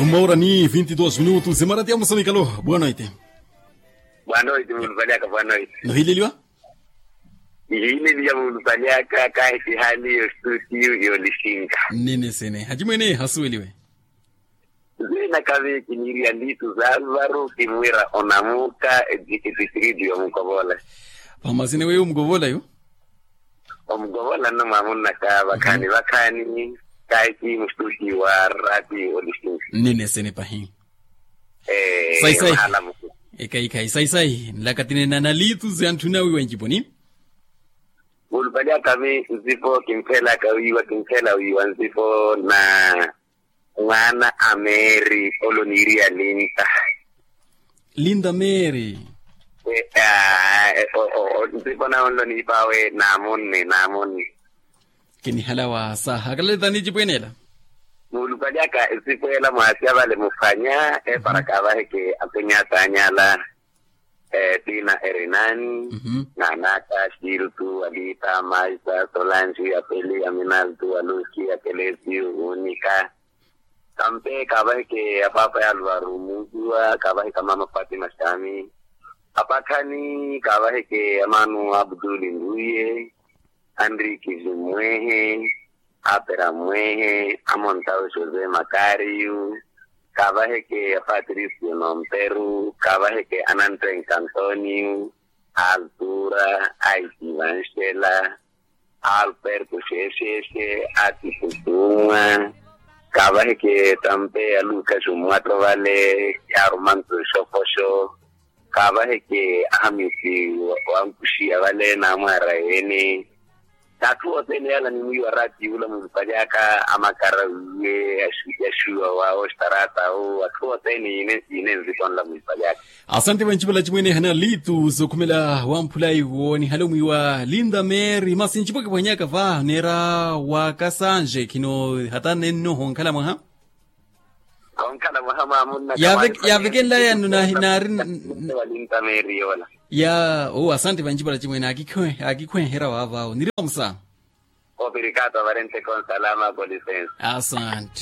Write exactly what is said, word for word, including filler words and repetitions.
Uma hora ni vinte e dois minutos emarati ya musanikalo. Boa noite. Boa noite, munupaliaka, boa noite. Nohileliwa? Ihiileliwa munupaliaka kaahitihani yo studio yo lisinka. Nene sene hacimwene hasuweliwe. Zina kave kiniiriya litu za varu kimwira onamuka etistritu ya mukovola. Pamazina weyo mukovola yo. Omukovola nno mwamunnaka vakhaani vakhaani kaahiki mustuti wa rati olisinka. Nene sene pahi. Saisai. Ekaikhayi saisai nlakatinena na litu za ntthuna wiwa nciponi. Mulupali akami nzipo kinthelaka wiiwa kintthela wiiwa nzipo na mwaana a meeri oloniiriya linta. Linta meeri. Nzipo nawe onloniipaawe naamunni naamunni. Kinihalawa saha akalalitani ecipwene ela. Mulupali aka nzipo ela mwaasya vale muphwanya epara kaavaheke apenyaatanyala. Tina erinani, nanaka, sirtu, alita, maisa, solansi, apeli, aminaltu, aluki, akelesiu, unika. Kampe kaavaheke apaapa ya alvaru muziwa kaavaheke amaama fatima xami. Apakhani kaavaheke amaanu abduli nruye, anriki zimmwehe, apera mmwehe, amontau jose makariyu. Kaavaheke apatricio nomperu kaavaheke anantwenka antonio, altura, aitivanxela, alperto xexexe, atikutunwa. Kaavaheke tampe alukaxu mmwatto vale, yarumantu exokoxo. Kaavaheke ahamisi wankuxiya vale naamwaara ene. N'atthu othene yala nimwiiwa ratiyo ula mulipalyaka amakara wiiwe yaxuwa wa oxtarata owo atthu othene yiine nzitonla mulipalyaka. Asante vancipala cimwene ehana litu sookhumela wamphulayi wo nihale omwiiwa linda meeri masi ncipo kiphwanyaka va neera wakasanje khino hata nenno honkhala mwaha. Yavekenlayano naari. Ya owo asante vancipala cimwene akikhwenherya waavaawo niriwa musa. Asante.